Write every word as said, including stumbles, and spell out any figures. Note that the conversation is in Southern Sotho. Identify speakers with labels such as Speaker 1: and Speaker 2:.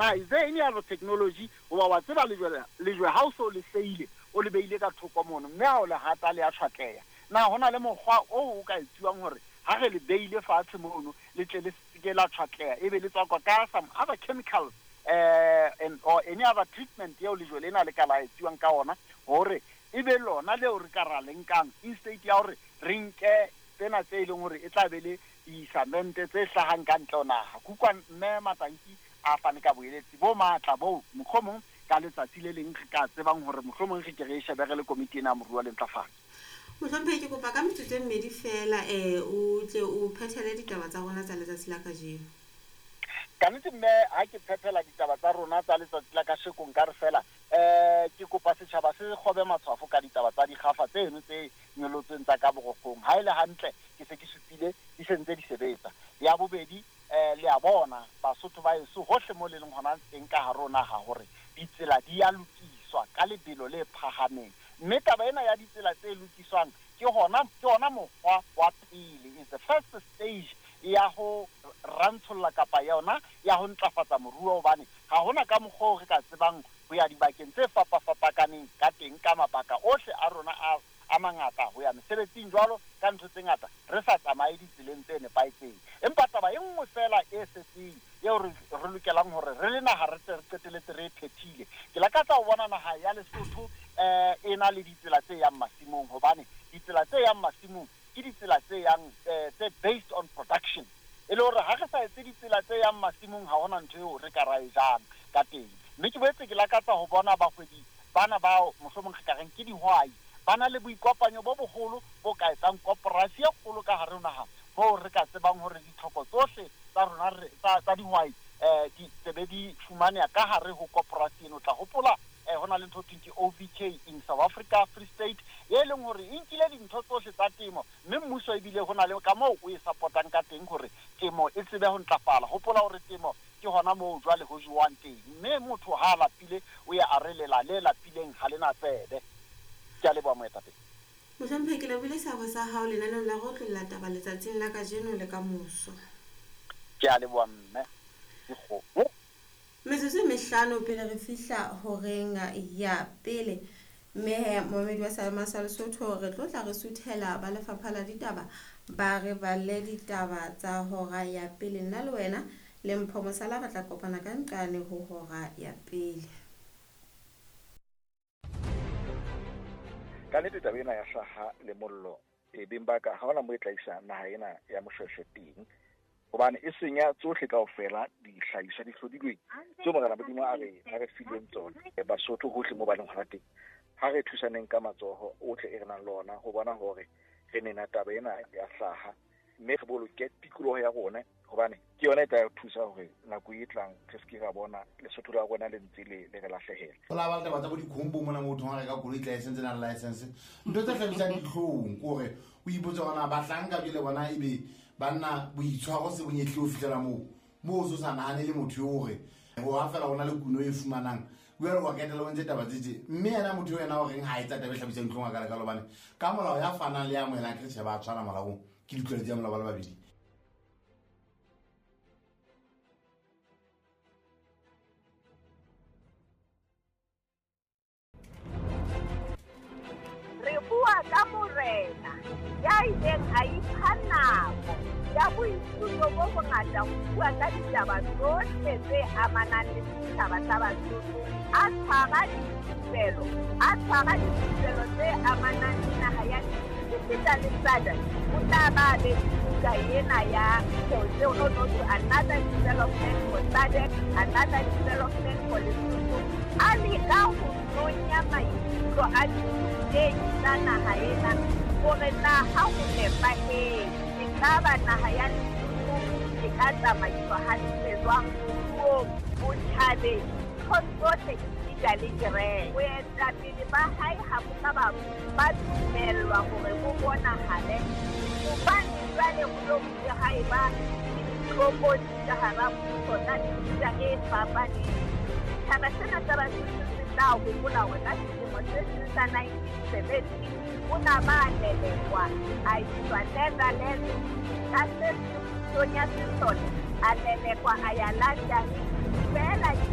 Speaker 1: Na is there any other technology hoba wa tseba lejwe lejwe ha o so le seile o le beile ka thoko mono mme ha o le hata le a tshwatleha na hona le mokgwa o o ka etsiwang hore ha re le beile fatshe mono le tle le seke la tshwatleha ebe le tswakwa ka some other chemicals eh and or any other treatment eo lejwe lena le ka la etsiwang ka ona hore ebe lona leo re ka ra le nkang instead ya hore re nke tsena tse leng hore e tla be le disamente tse hlahang ka ntle ho naha. Kukwa mme Matanki a fane ka boeletsi bo matla bo mohlomong ka letsatsi le leng re ka tsebang hore mohlomong re ke re shebe re le komiti ena ya moruo le ntlafatso.
Speaker 2: Mohlomphehi, ke kopa ka metsotso e mmedi fela eh o tle o phethele ditaba tsa rona tsa letsatsi la kajeno.
Speaker 1: Ka nnete mme ha ke phethela ditaba tsa rona tsa letsatsi la kasheko nka re fela eh ke kopa setjhaba se kgobe matshwafo ka ditaba tsa dikgafa tseno tse nyolotsweng tsa ka borokgong. Ha ele hantle ke se ke supile di sentse di sebetsa. Ya bobedi eh le a bona Basotho ba heso hohle mo le leng hona teng ka hare ho naha hore ditsela di a lokiswa ka lebelo le phahameng. Mme taba ena ya ditsela tse lokiswang ke hona ke hona mokgwa wa pele, is the first stage ya ho rantsholla kapa yona ya ho ntlafatsa moruo, hobane ha hona ka mokgwa o re ka tsebang ho ya dibakeng tse fapafapakaneng ka teng ka mabaka ohle a rona a a mangata ho ya mesebetsing jwalo ka ntho tse ngata re sa tsamaye ditseleng tse nepahetseng. Empa taba e nngwe fela e setseng eo re re lokelang hore re le naha re tse re qeteletse re e phethile, ke lakatsa ho bona naha ya Lesotho eh e na le ditsela tse yang masimong, hobane ditsela tse yang masimong ke ditsela tse yang eh, tse based on production. E le hore ha re sa etse ditsela tse yang masimong ha hona ntho eo re ka ra e jang ka teng. Mme ke boetse ke lakatsa ho bona bahwebi bana bao mohlomong re ka reng ke dihwai ba na le boikopanyo bo boholo bo ka etsang koporasi e kgolo ka hare ho naha moo re ka tsebang hore ditlhoko tsohle tsa rona re tsa tsa dihwai eh di tsebe di fumaneha ka hare ho koporasi eno. Tla hopola eh hona le ntho thweng ke O V K in South Africa Free State e leng hore e nkile dintho tsohle tsa temo mme mmuso ebile hona le ka moo o e support-ang ka teng hore temo e tsebe ho ntlafala. Hopola hore temo ke hona moo jwale ho jewang teng mme motho ha a lapile o ya a re lela le lapileng ha lena tsebe. Ke a leboha moetapele.
Speaker 2: Mohlomphehi, ke lebohile seabo sa hao lenaneong la go tlolla taba letsatsing la kajeno le ka moso.
Speaker 1: Ke a leboha mme. Dikgomo.
Speaker 2: Metsotso e mehlano pele re fihla horeng ya pele. Mme momedi wa Salema sa Lesotho re tlo tla re suthela ba lefapha la ditaba ba re balle ditaba tsa hora ya pele. Nna le wena le Mpho Mosala re tla kopana ka nqane ho hora ya pele.
Speaker 3: Ka nnete taba ena ya hlaha le mollo e beng ba ka ha hona mo e tla isa naha ena ya Moshweshwe teng, hobane e senya tsohle kaofela dihlahiswa di hlodilweng tseo Morena Modimo a re a re fileng tsona. Basotho hohle mo ba leng hona teng, ha re thusaneng ka matsoho ohle e re nang le ona ho bona hore re nena taba ena ya hlaha mme re boloke tikoloho ya rona, hobane ke yona e tla re thusa hore nako e tlang re se ke ra bona Lesotho la rona le ntse le le re lahlehela.
Speaker 4: Ho la ba taba tsa bo dikhombo mona motho ha reka koloi license na license ntho tse hlabisang dihlong ke hore o ipotse hore na bahlanka jwale bona ebe banna boitshwaro se bonyehle ho fihlela moo moo o so sa nahane le motho eo hore ho ha fela hona le kuno e fumanang jwale wa ketela o ntse taba tse tje mme yena motho eo yena o reng ha etsa taba e hlabisang dihlong a kalekalo hobane ka molao ya fanang le ya amohelang ke tjhe ba tshwana molaong ke ditlwaelo tsa molao ba le babedi.
Speaker 5: Re bua ka morena ya ileng a ipha nako ya boithuto bo bongata ho bua ka ditaba tsohle tse amanang le setjhaba sa Basotho, a tshwara dithupelo, a tshwara dithupelo tse amanang le naha ya esita le S A D C. O tla ba be le buka ena ya tseo no no to another development for S A D C, another development for Lesotho. A leka ho nonya maikutlo a dithutehi tsa naha ena hore na ha ho nepahetse ekaba naha ya Lesotho e ka tsamaiswa hantle jwang moruong, botjhabeng, nthong tsohle esita le kereke. Boetapele ba hae ha bo ka ba ba dumellwa hore bo bonahale hobane jwale ho lo bile ha eba le ditlokotsi ka hara puso tsa mefuta e fapaneng. Setjhaba sena sa Basotho se tla hopola hore ka selemo se seng sa nineteen seventy o na ba lelekwa a iswa Netherlands ka se pusong ya sesole, a lelekwa a ya London. Feela Mamela.